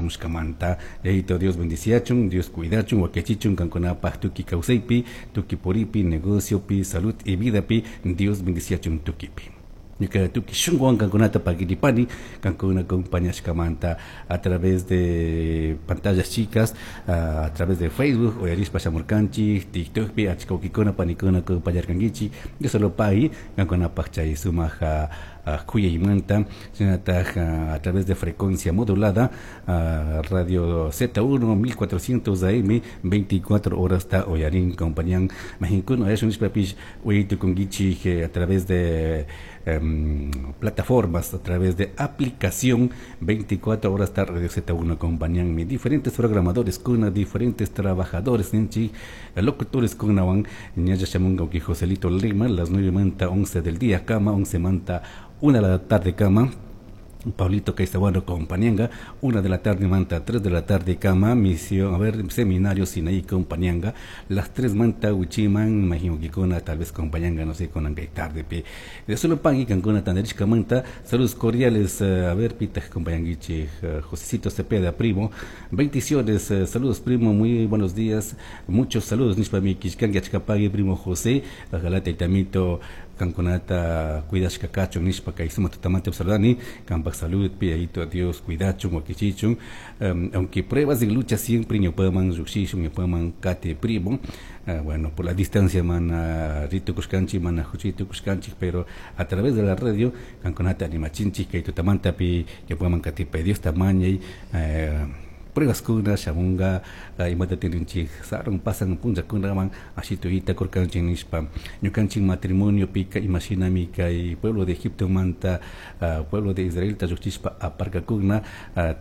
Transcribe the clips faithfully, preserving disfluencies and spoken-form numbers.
Shamushkamanta, Yayito Dios bendiciachun, Dios cuidachun, wakichichun, kankunapaj tuki kawsaypi, tuki puripi, negociopi, salud y vidapi, Dios bendiciachun tukipi. Ñuka tuki shunkuwan kankunata paguiripani, kankuna acompañashkamanta a través de pantallas chicas, a través de Facebook, uyarishpa shamurkanchik, TikTokpi, achka wawkikuna panikuna acompañarkankichik, Dios solo pagui, kankunapaj chay sumak kuyaymanta, shinataj a través de frecuencia modulada, Radio Z uno mil cuatrocientos A M, veinticuatro horas ta uyarin compañan, majinkuna uyashun nishpapish uyaytukunkichik a través de um, plataformas, a través de aplicación, veinticuatro horas ta Radio Z uno acompañan diferentes programadores con diferentes trabajadores ninchi locutores kunawan ñalla shamunga Joselito Lima las nueve manta once del día kama, once manta una de la tarde kama, Pablito Caizaguano compañanga, una de la tarde manta tres de la tarde kama, misión, a ver, seminario Sinaí compañanga, las tres manta huichiman, imagino que con tal vez compañanga, no sé, con angay tarde, pi. De solo pagui kankuna tandarishka manta, saludos cordiales, eh, a ver, pita compañanguichi, eh, Josecito Cepeda, primo, bendiciones, eh, saludos, primo, muy buenos días, muchos saludos, nishpa mi kishkangi achkapagui, primo José, ojalá taitamito, kankunata cuidashka kachun nishpa kay sumak tutamanta saludani kampak salud pi Yayito Dios cuidachun wakichichun, um, aunque pruebas y lucha siempre ñawpaman llukshishun ñawpaman kati, primo. Uh, bueno, por la distancia mana ritukushkanchik, mana huchitukushkanchik, pero a través de la radio kankunata animachinchik kay tutamanta pi ñawpaman katipay Diosta mañay. uh, pruebaskuna shamunga, imata tininchik sarun pasan punllakunaman ashituyta kurkanchik nishpa ñukanchik matrimonio pika imashinami kay pueblo de Egipto manta pueblo de Israelta llukchishpa aparkakuna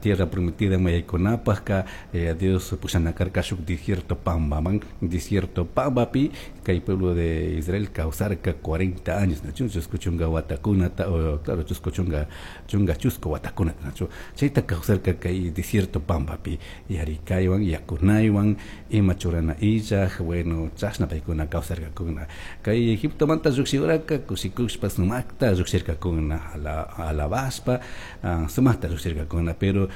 tierra prometida mayaykunapajka, eh, Dios pushanakarka shuk desierto pambaman. Desierto pambapi kay pueblo de Israel kawsarka cuarenta años, nachu chusku chunga watakunata, claro, chusku chunga chunga chusku watakunata, nachu chayta kawsarka kay desierto pambapi yarikaywan yakunaywan ima churana illaj. Bueno, chashna paykuna kawsarkakuna. Kay Egiptomanta llukshiraka kushikushpa sumakta llukshirkakuna alabashpa sumakta llukshirkakuna, pero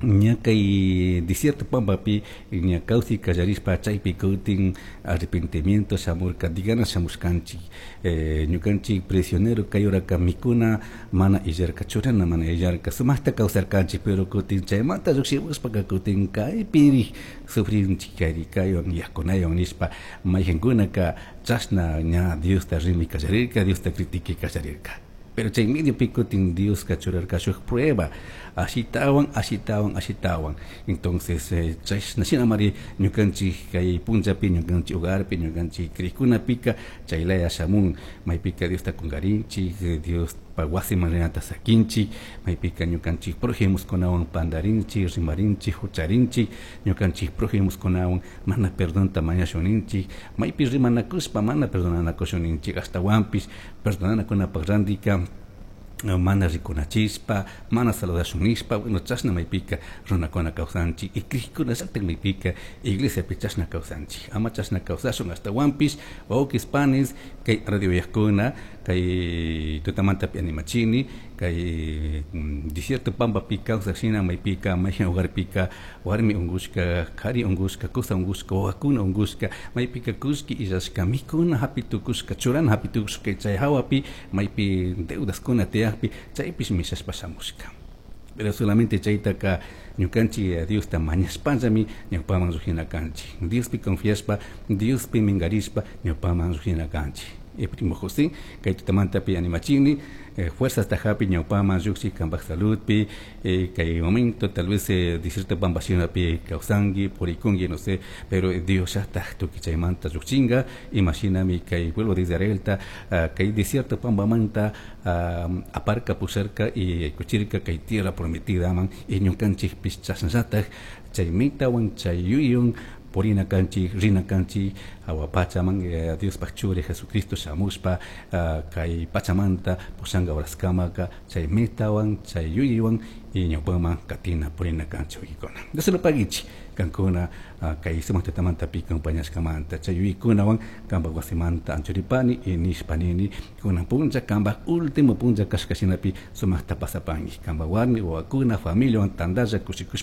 ña kay desierto pampapi ña kawsay kallarishpa chaypi kutin arrepentimiento shamurka, digana shamushkanchik, eh, ñukanchik prisionero kay horaka mikuna mana illarka, churana mana illarka, sumakta kawsarkanchik, pero kutin chaymanta llukshimushpaka kutin kaypiri sufrinchik yarikaywan yakunaywan nishpa mayjankunaka chashna ña Diosta rimi kallarirka, Diosta critique kallarirka. Pero chay mediopi kutin Dioska churarka shuk prueba ashitawan, ashitawan, ashitawan. Entonces eh, chashna shinamari ñukanchik kay punllapi ñukanchik hogarpi ñukanchik krikkunapika chaylaya shamun maypika Diosta kungarinchik, Dios wasiman rinata sakinchik, maypika ñukanchik prójimoskunawan pandarinchik, rimarinchik, hucharinchik, ñukanchik prójimoskunawan mana perdonta mañashuninchik, maypi rimanakushpa mana perdonanakushuninchik, ashtawanpish perdonanakunapaq randika mana rikunachishpa mana saludashun nishpa. Bueno, chashna maypika runakuna kawsanchik y krikuna llakta maypika iglesiapi chashna kawsanchik. Ama chashna kawsashun. Ashtawanpish wawkis panis kay radio uyakuna kay tutamantapi animachini kay mm, desierto pampapi kawsak shina maypika mayjan hogarpika warmi unkushka, kari unkushka, kusa unkushka, wawakuna unkushka, maypika kullki illashka, mikuna hapi tukushka, churana hapi tukushka, chay hawapi maypi deudaskuna tiyakpi chaypish mishashpa shamushka. Pero solamente chaytaka ñukanchik Diosta mañashpallami ñawpaman llukshina kanchik, Diospi confiashpa, Diospi minkarishpa ñawpaman llukshina kanchik. eh, primo José, kay tutamantapi animachini, eh, fuerzas tajapi ñawpaman llukshin kanpak saludpi, eh, kay momento tal vez eh, desierto pampashinapi kawsanki, purikunki, no sé, pero Dios llatak tukuy chaymanta llukchinga imashinami kay pueblo de Israelta uh, kay desierto pampamanta uh, aparka pusharka y kuchirka kay tierra prometida man y ñukanchikpish chashnallatak chay mitawan chay yuyun purina kanchik, rina kanchik awa pachaman eh, Diospaj churi Jesucristo shamushpa uh, kay pachamanta pushanka horaskamaka chay metawan chay yuyaywan y ñawpaman katina purina kanchik wawkikuna. Dios lo paguichi kankuna uh, kay sumak tutamantapi acompañashkamanta chay yuyaykunawan kanpak wasimanta anchuripani y nishpa nini kunan punlla kanpak último punlla kashka shinapi sumakta pasapanki kanpak warmi wawakuna familiawan tantalla kushikushpa.